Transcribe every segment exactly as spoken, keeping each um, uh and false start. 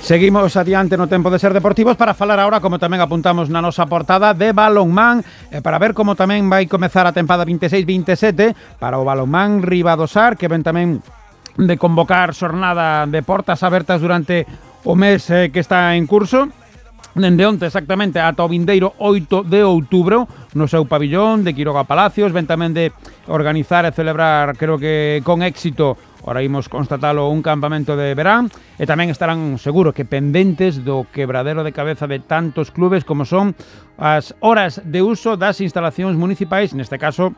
Seguimos adiante no tempo de Ser Deportivos para falar agora, como tamén apuntamos na nosa portada, de balonmán, e para ver como tamén vai comezar a tempada vinte e seis vinte e sete para o balonmán Ribadosar, que ven tamén de convocar xornada de portas abertas durante o mes eh, que está en curso. Dende onte exactamente ata o vindeiro oito de outubro no seu pabillón de Quiroga Palacios. Ven tamén de organizar e celebrar, creo que con éxito, ora imos constatalo, un campamento de verán, e tamén estarán seguro que pendentes do quebradero de cabeza de tantos clubes como son as horas de uso das instalacións municipais, neste caso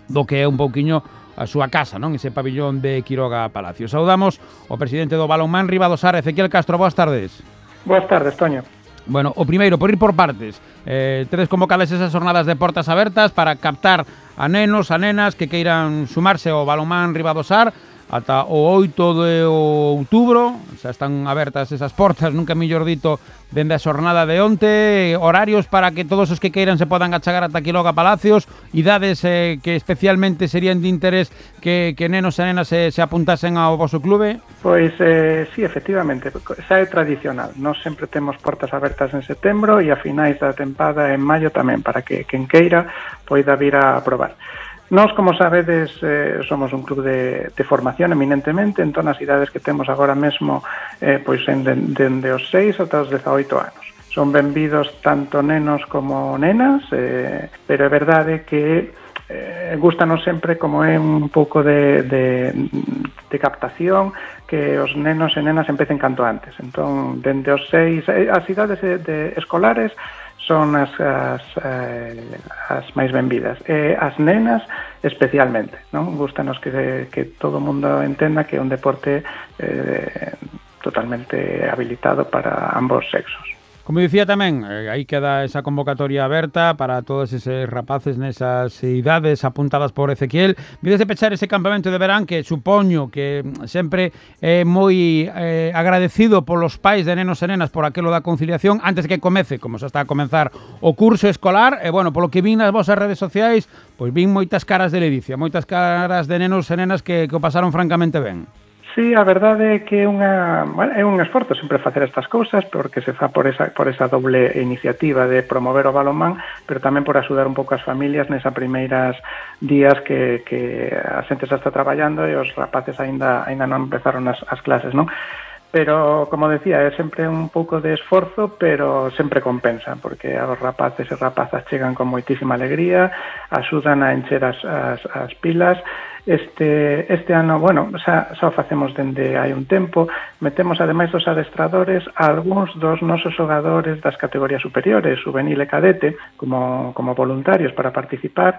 do que é un pouquiño a súa casa, non? Ese pabillón de Quiroga Palacios. Saudamos o presidente do balonmán Ribadosar, Ezequiel Castro. Boas tardes. Boas tardes, Toño. Bueno, o primeiro, por ir por partes, eh, tedes convocadas esas jornadas de portas abertas para captar a nenos, a nenas que queiran sumarse ao balonmán Ribadosar ata o oito de outubro. Xa están abertas esas portas, nunca mellor dito, dende a xornada de onte. Horarios para que todos os que queiran se podan achegar ata Quiroga Palacios. Idades eh, que especialmente serían de interés que, que nenos e nenas se, se apuntasen ao voso clube. Pois, eh, sí, efectivamente, xa é tradicional. Nós sempre temos portas abertas en setembro e a finais da tempada en maio tamén, para que quen queira poida vir a probar. Nós, como sabedes, eh, somos un club de, de formación eminentemente, entón as idades que temos agora mesmo eh, pois en dende de, os seis ata os dezaoito anos. Son benvidos tanto nenos como nenas, eh, pero é verdade que eh, gustanos sempre, como é un pouco de, de, de captación, que os nenos e nenas empecen canto antes. Entón, dende os seis, as idades de, de escolares son as, as, eh, as máis benvidas. E as nenas especialmente, non? Gústanos que, que todo o mundo entenda que é un deporte eh, totalmente habilitado para ambos sexos. Como dicía tamén, eh, aí queda esa convocatoria aberta para todos eses rapaces nesas idades apuntadas por Ezequiel. Vides de pechar ese campamento de verán que supoño que sempre é moi eh, agradecido polos pais de nenos e nenas por aquelo da conciliación antes que comece, como xa está a comenzar o curso escolar. E, bueno, polo que vin nas vosas redes sociais, pois vin moitas caras de ledicia, moitas caras de nenos e nenas que, que o pasaron francamente ben. Sí, a verdade é que é, unha, bueno, é un esforzo sempre facer estas cousas, porque se fa por esa, por esa doble iniciativa de promover o balonmán, pero tamén por axudar un pouco as familias nesa primeiras días que, que a xente xa está traballando e os rapaces aínda, aínda non empezaron as, as clases, non? Pero, como decía, é sempre un pouco de esforzo, pero sempre compensa, porque os rapaces e rapazas chegan con moitísima alegría, axudan a encher as, as, as pilas. Este, este ano, bueno, xa, xa o facemos dende hai un tempo, metemos ademais dos adestradores a algúns dos nosos xogadores das categorías superiores, juvenil e cadete, como, como voluntarios para participar.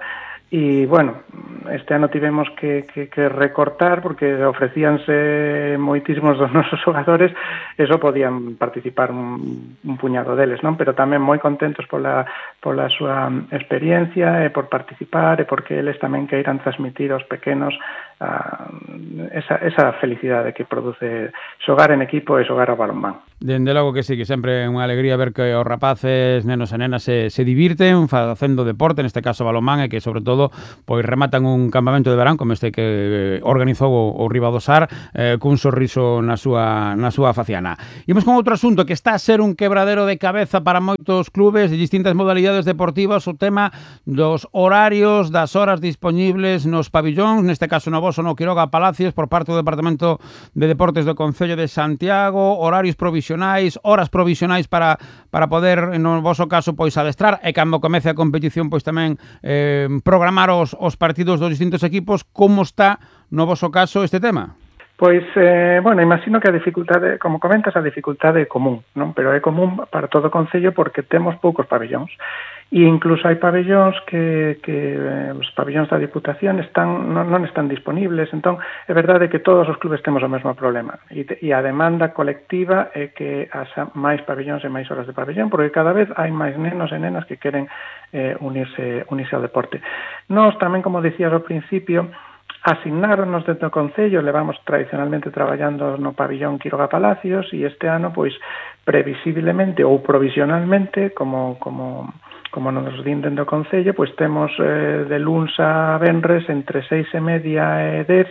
E, bueno, este ano tivemos que, que, que recortar porque ofrecíanse moitísimos dos nosos xogadores e só podían participar un, un puñado deles, non? Pero tamén moi contentos pola, pola súa experiencia e por participar e porque eles tamén queiran transmitir aos pequenos uh, esa, esa felicidade que produce xogar en equipo e xogar ao balonmán. Dende logo que sí, que sempre é unha alegría ver que os rapaces, nenos e nenas se, se divirten facendo deporte, neste caso balonmán, e que sobre todo pois rematan un campamento de verán como este que organizou o, o Ribadosar eh, cun sorriso na súa, na súa faciana. Imos con outro asunto que está a ser un quebradero de cabeza para moitos clubes de distintas modalidades deportivas, o tema dos horarios, das horas disponibles nos pabillóns, neste caso no voso no Quiroga Palacios, por parte do Departamento de Deportes do Concello de Santiago, horarios provisionais, horas provisionais para, para poder, no voso caso, pois adestrar, e cando comece a competición, pois tamén eh, programar os, os partidos dos distintos equipos. Como está, no voso caso, este tema? Pois, eh, bueno, imagino que a dificultade, como comentas, a dificultade é común, non? Pero é común para todo o Concello porque temos poucos pabellóns. E incluso hai pabellóns que, que eh, os pabellóns da Diputación están, non, non están disponibles. Entón, é verdade que todos os clubes temos o mesmo problema. E, te, e a demanda colectiva é que haxa máis pabellóns e máis horas de pabellón, porque cada vez hai máis nenos e nenas que queren eh, unirse, unirse ao deporte. Nós tamén, como dicías ao principio, asignáronos dentro do Concello, levamos tradicionalmente traballando no pabillón Quiroga Palacios e este ano, pois, previsiblemente ou provisionalmente, como como como nos din dentro do Concello, pois temos eh, de luns a venres entre seis e media e dez,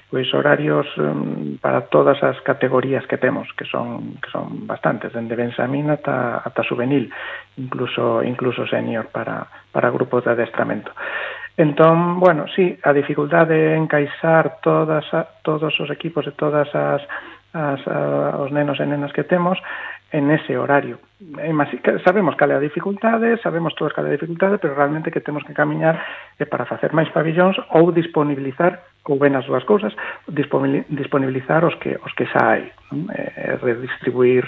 pois horarios um, para todas as categorías que temos, que son que son bastantes, dende benxamín ata ata juvenil, incluso incluso senior para para grupos de adestramento. Entón, bueno, sí, a dificultade de encaixar todas a, todos os equipos e todas as, as a, os nenos e nenas que temos en ese horario. Sabemos cal é a dificultade, sabemos todos cal é a dificultade, pero realmente que temos que camiñar é para facer máis pabillóns ou disponibilizar, ou ben as dúas cousas, disponibilizar os que os que xa hai, non? E redistribuir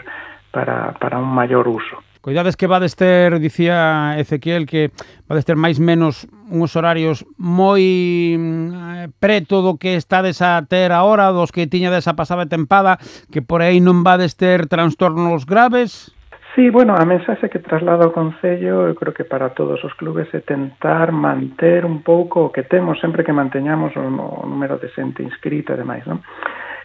para, para un maior uso. Coidades que vades ter, dicía Ezequiel, que vades ter máis menos uns horarios moi eh, preto do que estades a ter agora, dos que tiñades a pasada tempada, que por aí non vades ter trastornos graves? Sí, bueno, a mensaxe que traslado ao Concello, eu creo que para todos os clubes é tentar manter un pouco o que temos, sempre que manteñamos o, o número de xente inscrita e demais, non?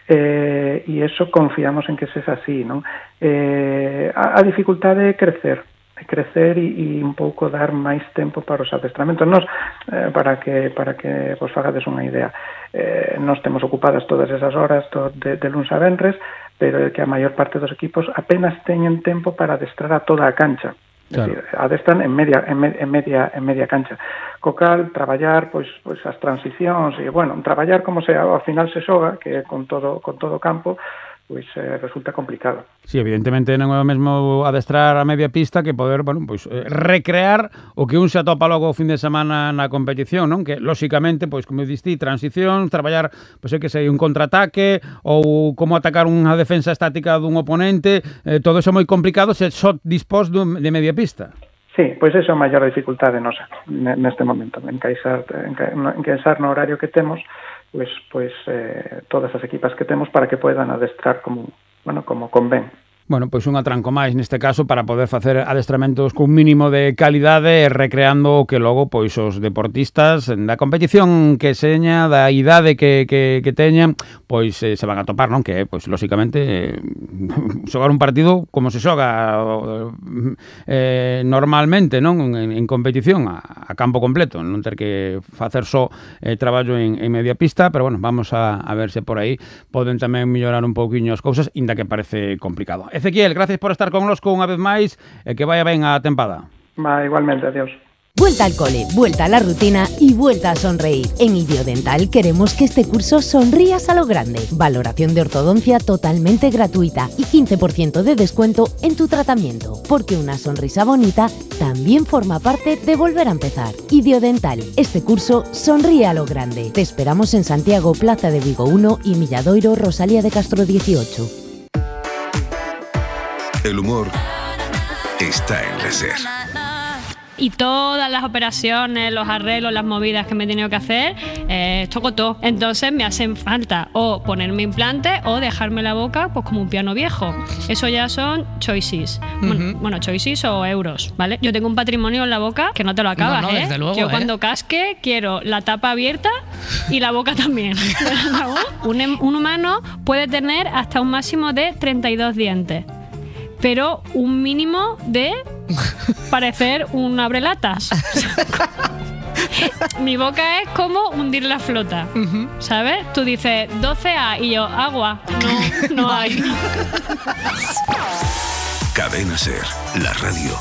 Eh, e eso confiamos en que sexa así, non? Eh, a, a dificultade é crecer, é crecer e, e un pouco dar máis tempo para os adestramentos. Nos, eh, para que para que vos fagades unha idea, eh, nos temos ocupadas todas esas horas to, de, de luns a venres, pero é que a maior parte dos equipos apenas teñen tempo para adestrar a toda a cancha. Claro. Decir, adestran en media en, me, en media en media cancha. Co cal traballar pois pois as transicións e bueno, traballar como se ao final se xoga, que con todo con todo o campo, pois eh, resulta complicado. Sí, evidentemente non é o mesmo adestrar a media pista que poder, bueno, pois eh, recrear o que un se atopa logo o fin de semana na competición, non? Que lóxicamente, pois como diste, transición, traballar, pois é que sei, un contraataque ou como atacar unha defensa estática dun oponente, eh, todo iso é moi complicado se só dispós de media pista. Sí, pois esa é a maior dificultade nosa neste momento, encaixar, encaixar no horario que temos, pois pois eh, todas as equipas que temos para que poidan adestrar como, bueno, como convén. Bueno, pois un atranco máis neste caso para poder facer adestramentos cun mínimo de calidade, recreando o que logo pois os deportistas da competición que seña, da idade que, que, que teñan, pois eh, se van a topar, non? Que pois lóxicamente eh, xogar un partido como se xoga eh, normalmente, non? En, en competición a, a campo completo, non ter que facer só eh, traballo en, en media pista, pero bueno, vamos a, a ver se por aí poden tamén mellorar un pouquiño as cousas, inda que parece complicado. Ezequiel, gracias por estar connosco unha vez máis e que vaya ben a tempada. Va, igualmente, adiós. Vuelta al cole, vuelta a la rutina y vuelta a sonreír. En Idiodental queremos que este curso sonrías a lo grande. Valoración de ortodoncia totalmente gratuita y quince por ciento de descuento en tu tratamiento, porque una sonrisa bonita también forma parte de volver a empezar. Idiodental, este curso sonríe a lo grande. Te esperamos en Santiago, Plaza de Vigo uno y Milladoiro, Rosalía de Castro dieciocho. El humor está en la SER. Y todas las operaciones, los arreglos, las movidas que me he tenido que hacer, eh, toco todo. Entonces me hacen falta o ponerme implante o dejarme la boca pues como un piano viejo. Eso ya son choices. Uh-huh. Bueno, bueno, choices o euros, ¿vale? Yo tengo un patrimonio en la boca que no te lo acabas, no, no, ¿eh? Luego, Yo ¿eh? cuando casque quiero la tapa abierta y la boca también. un, un humano puede tener hasta un máximo de treinta y dos dientes. Pero un mínimo de parecer un abrelatas. Mi boca es como hundir la flota, uh-huh. ¿sabes? Tú dices doce A y yo, agua. No, no hay. Cadena SER, la radio